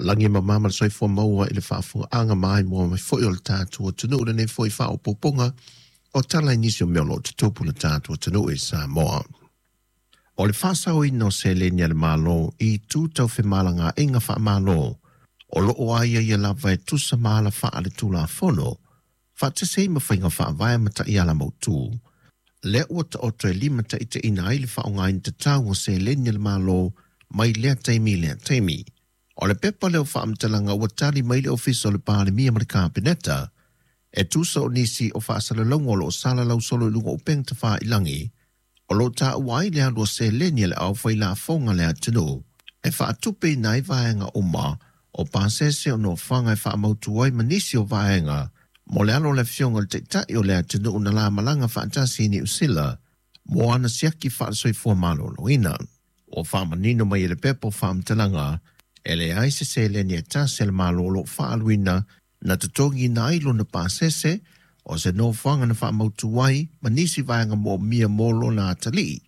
Lagi e mama ma le soifua maua i le faafofogaaga maimoa mai foi o le tatou atunuu lenei foi faaopoopoga o tala i nisi o mea o lo o tutupu i le tatou atunuu i Samoa. O le faasaoina o seleni a le Malo i itu tau femalagaaiga faamalo o lo o aiaia lava e tusa ma ala faaletulafono faatasi ai ma faiga faavae ma taiala mautu. Lea ua taoto e limataitaiina ai le faaaogaina tatau o seleni a le Malo mai lea taimi i lea taimi. O le pepa lea o faamatalaga ua tali mai le Ofisa o le Palemia ma le Kapeneta e tusa o nisi o faasalalauga o lo o salalau solo i luga o upega tafailagi o lo o taua ai le alu o seleni a le aufailafoga a le atunuu e faatupeina ai vaega uma o pasese o nofoaga e faamautu ai ma nisi o vaega mo le alo o le Afioga i le Taitai o le atunuu na la malaga faatasi i Niu Sila mo ana siaki faale-soifua maloloina. Ua faamanino mai e le pepa o faamatalaga e leai se seleni e tasi a le Malo o lo o faaaluina na totogiina ai lona pasese o se nofoaga na faamautu ai ma nisi vaega moomia mo lona atalii.